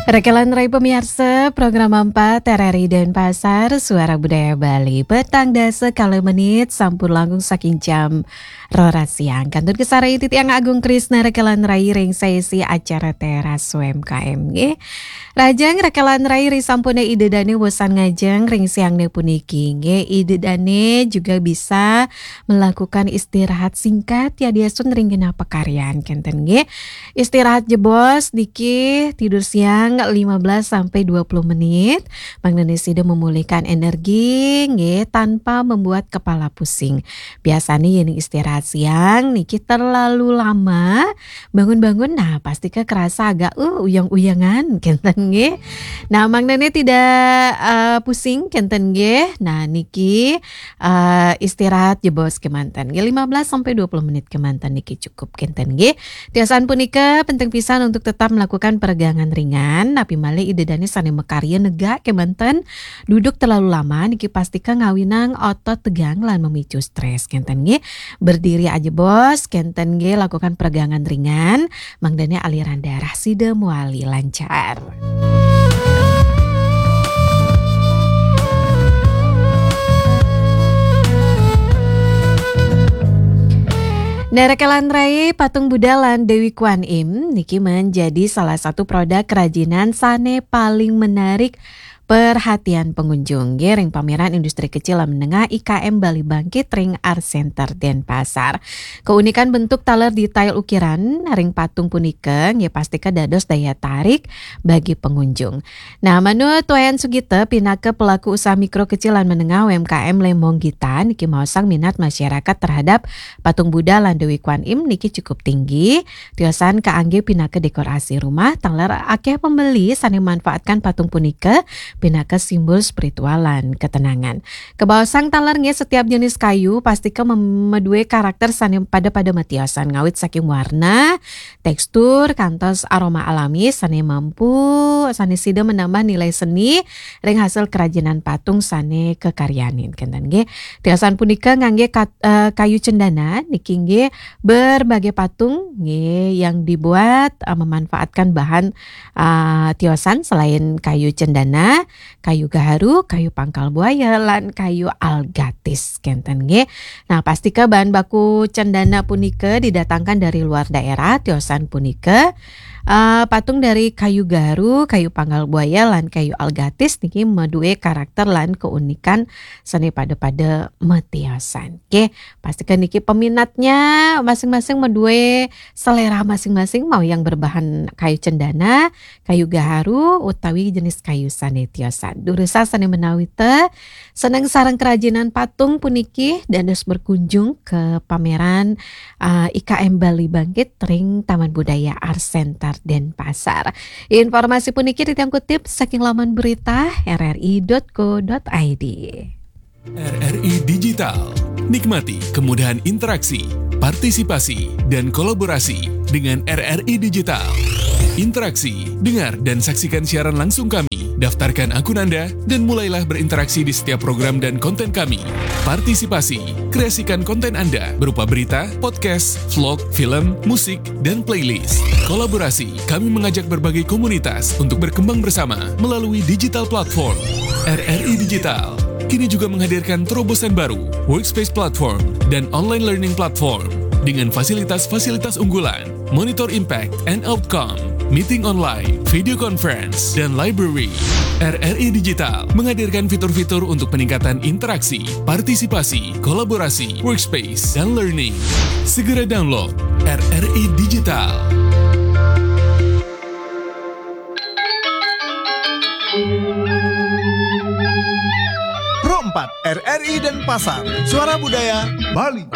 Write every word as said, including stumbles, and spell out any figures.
Rekelan rai pemiarsa, program empat R R I Denpasar, Suara Budaya Bali. Petang dasa kala menit, sampun langkung saking jam roras siang. Kantun kasarengin titiang Agung Krisna rekelan rai ring sesi acara Teras U M K M nggih. Lajeng rekelan rai ri sampune Ida Dane bosan ngajeng ring siangne puniki nggih. Ida Dane juga bisa melakukan istirahat singkat yadiastun ring genah pakaryan kenten nggih. Istirahat jebos niki tidur siang lima belas sampai dua puluh menit. Mangdane sida memulihkan energi nggih tanpa membuat kepala pusing. Biasanya yen istirahat siang niki terlalu lama, bangun-bangun nah pasti ke kerasa agak uh, uyang-uyangan kenten nggih. Nah, mangdane tidak uh, pusing kenten nggih. Nah, niki uh, istirahat jebos kemanten nggih, lima belas sampai dua puluh menit kemanten niki cukup kenten nggih. Tiosan punika penting pisan untuk tetap melakukan peregangan ringan, napi malih Ida Dane sane makarya negak kemanten duduk terlalu lama niki pastika ngawinang otot tegang lan memicu stres kenten nggih. Berdiri aja bos kenten nggih, lakukan peregangan ringan, mangdane aliran darah sida muali lancar. Nah, rekelan rai patung Buddha lan Dewi Kwan Im niki menjadi salah satu produk kerajinan sane paling menarik perhatian pengunjung nggih ring pameran industri kecil lan menengah I K M Bali Bangkit ring Art Center Denpasar. Keunikan bentuk taler detail ukiran ring patung punika nggih pastika dados daya tarik bagi pengunjung. Nah, manut Wayan Sugita pinaka pelaku usaha mikro kecil lan menengah U M K M Lembong Gita niki maosang minat masyarakat terhadap patung Buddha lan Dewi Kwan Im niki cukup tinggi. Tiosan kaangge pinaka dekorasi rumah, taler akeh pembeli sane manfaatkan patung punika pinaka simbol spiritual lan ketenangan. Kebaosang taler nggih setiap jenis kayu pastika mem- madue karakter sane pada-pada matiosan ngawit saking warna, tekstur, kantos aroma alami sane mampu sane sida menambah nilai seni ring hasil kerajinan patung sane kekaryanin kenten nggih. Tiosan punika ngangge kat- eh, kayu cendana niki nggih berbagai patung nggih yang dibuat eh, memanfaatkan bahan eh, tiosan selain kayu cendana, kayu gaharu, kayu pangkal buaya lan kayu algatis kenten nggih. Nah, pastika bahan baku cendana punika didatangkan dari luar daerah, tiosan punika eh, patung dari kayu gaharu, kayu pangkal buaya lan kayu algatis niki madue karakter lan keunikan sane pada-pada matiosan. Oke, pastika niki peminatnya masing-masing madue selera masing-masing, mau yang berbahan kayu cendana, kayu gaharu utawi jenis kayu sane tiosan. Durusang sane menawi te seneng sareng kerajinan patung puniki dados berkunjung ke pameran uh, I K M Bali Bangkit ring Taman Budaya Art Center Denpasar. Informasi puniki titiang kutip saking laman berita R R I dot co dot I D. R R I Digital. Nikmati kemudahan interaksi, partisipasi, dan kolaborasi dengan R R I Digital. Interaksi, dengar, dan saksikan siaran langsung kami. Daftarkan akun Anda dan mulailah berinteraksi di setiap program dan konten kami. Partisipasi, kreasikan konten Anda berupa berita, podcast, vlog, film, musik, dan playlist. Kolaborasi, kami mengajak berbagai komunitas untuk berkembang bersama melalui digital platform. R R I Digital kini juga menghadirkan terobosan baru, Workspace Platform dan Online Learning Platform dengan fasilitas-fasilitas unggulan, Monitor Impact and Outcome, meeting online, video conference, dan library. R R I Digital menghadirkan fitur-fitur untuk peningkatan interaksi, partisipasi, kolaborasi, workspace, dan learning. Segera download R R I Digital. Pro empat R R I Denpasar, Suara Budaya Bali.